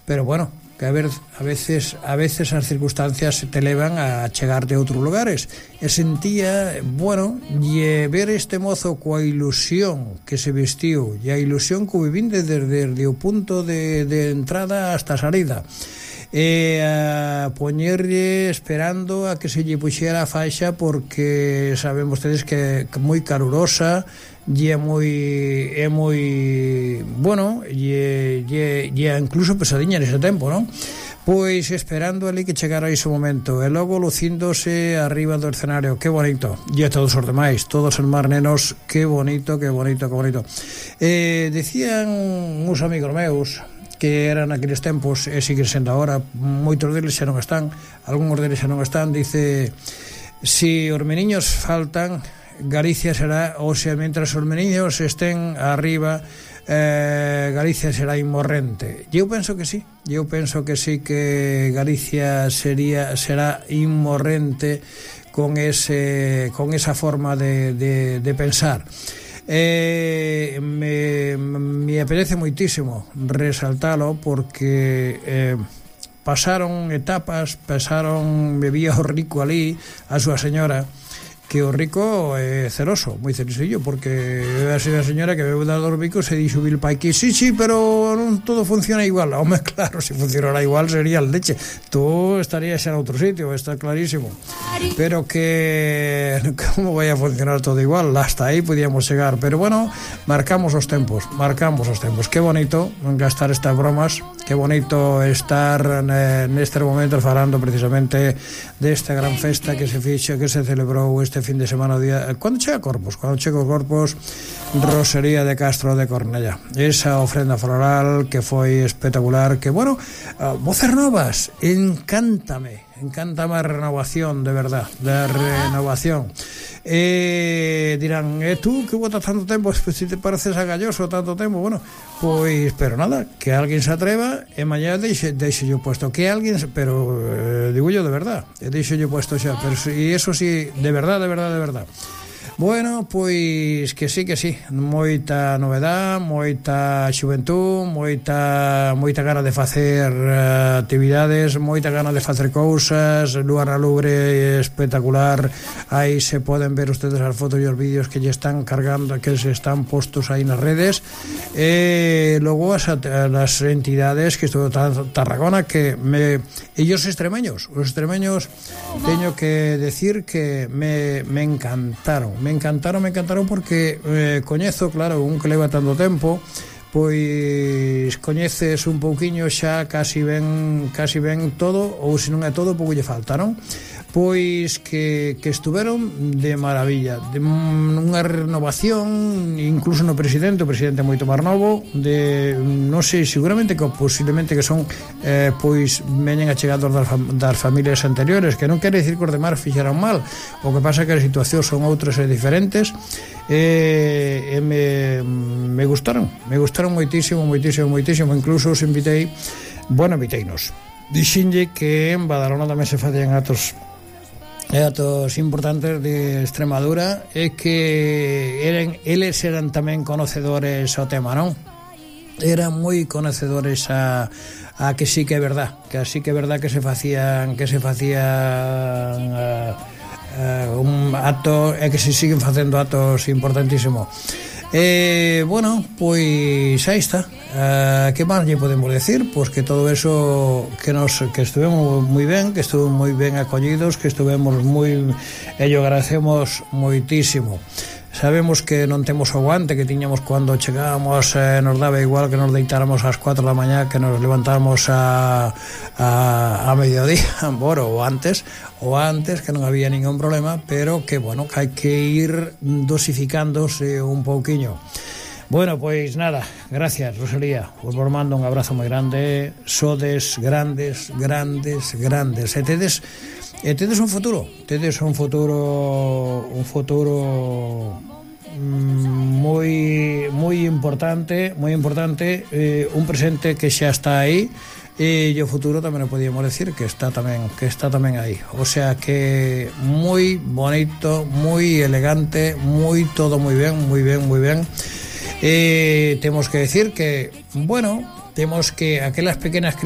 pero bueno, que a veces as circunstancias te levan a chegar de outros lugares. E sentía, bueno, e ver este mozo coa ilusión que se vestiu e a ilusión que vivín desde o punto de entrada hasta a salida, e a poñerlle esperando a que se lle puxera a faixa, porque saben vostedes que é moi calurosa e é moi bueno, e incluso pesadiña nese tempo, non? Pois esperando ali que chegara ese momento, e logo lucíndose arriba do escenario. Que bonito. E a todos os demais, todos os máis nenos, que bonito, que bonito, que bonito. Decían uns amigos meus que eran aqueles tempos, e siguen sendo agora, moitos deles xa non están, algúns deles xa non están. Dice, si os meniños faltan, Galicia será, ou sea, mentras os meniños estén arriba, Galicia será inmorrente. E eu penso que sí, que Galicia será inmorrente con esa forma de pensar. Me apetece moitísimo resaltalo, porque pasaron etapas, bebía o rico ali, a súa señora, que o rico é celoso, moi celosillo, porque a señora que bebe dar dos bicos se dixo Bill pai que sí, pero non todo funciona igual. Home, claro, se funcionara igual sería el leche, tú estarías en outro sitio, está clarísimo, pero que como vai a funcionar todo igual, hasta aí podíamos chegar. Pero bueno, marcamos os tempos. Que bonito gastar estas bromas, que bonito estar nestes momentos falando precisamente desta gran festa que se fixo, que se celebrou este fin de semana, cando chega Corpus, Rosería de Castro de Cornellá, esa ofrenda floral que foi espectacular, que bueno, voces novas, encántame a renovación, de verdad, dirán, tú que botas tanto tempo, si te pareces a Galloso tanto tempo, bueno, pois, pero nada, que alguén se atreva e mañá deixe yo puesto, que alguén, pero digo yo de verdad, deixe yo puesto xa, pero e eso sí, de verdad. Bueno, pois que sí, moita novedad, moita xuventud, moita gana de facer actividades, moita gana de facer cousas, lugar a lubre espectacular. Aí se poden ver ustedes as fotos e os vídeos que lle están cargando, que se están postos aí nas redes. Logo as entidades que estuvo Tarragona, que ellos extremeños teño que decir que me encantaron porque coñezo, claro, un que leva tanto tempo, pois coñeces un pouquiño xa, casi ben todo, ou se non é todo, pouco lle faltaron. Pois que estuveron de maravilla, de unha renovación, incluso no presidente, o presidente moito máis novo, de, non sei, seguramente que posiblemente que son pois veñen achegados das familias anteriores, que non quere dicir que os demais fixeran mal, o que pasa que as situacións son outras e diferentes. Me gustaron moitísimo, incluso os inviteinos. Dixenlle que en Badalona tamén se facían actos importantes de Extremadura, e que eles eran tamén conocedores ao tema, non? Eran moi conocedores a que sí que é verdad, que se facían un acto, e que se siguen facendo actos importantísimos. Bueno, pois aí está. Que máis lle podemos decir? Pois que todo eso que estuvemos moi ben, que estuvemos moi ben acollidos, que estuvemos moi, e yo agradecemos moitísimo. Sabemos que non temos o aguante que tiñamos cando chegábamos, nos daba igual que nos deitáramos ás 4 da mañá, que nos levantáramos a mediodía, bueno, o antes, que non había ningún problema, pero que, bueno, que hai que ir dosificándose un pouquiño. Bueno, pois nada, gracias, Rosalía, os vos mando un abrazo moi grande, sodes grandes, e tedes un futuro moi importante, un presente que xa está aí, e o futuro tamén o podíamos decir que está tamén aí, o sea que moi bonito, moi elegante, todo moi ben. Temos que decir que, bueno, temos que aquelas pequenas críticas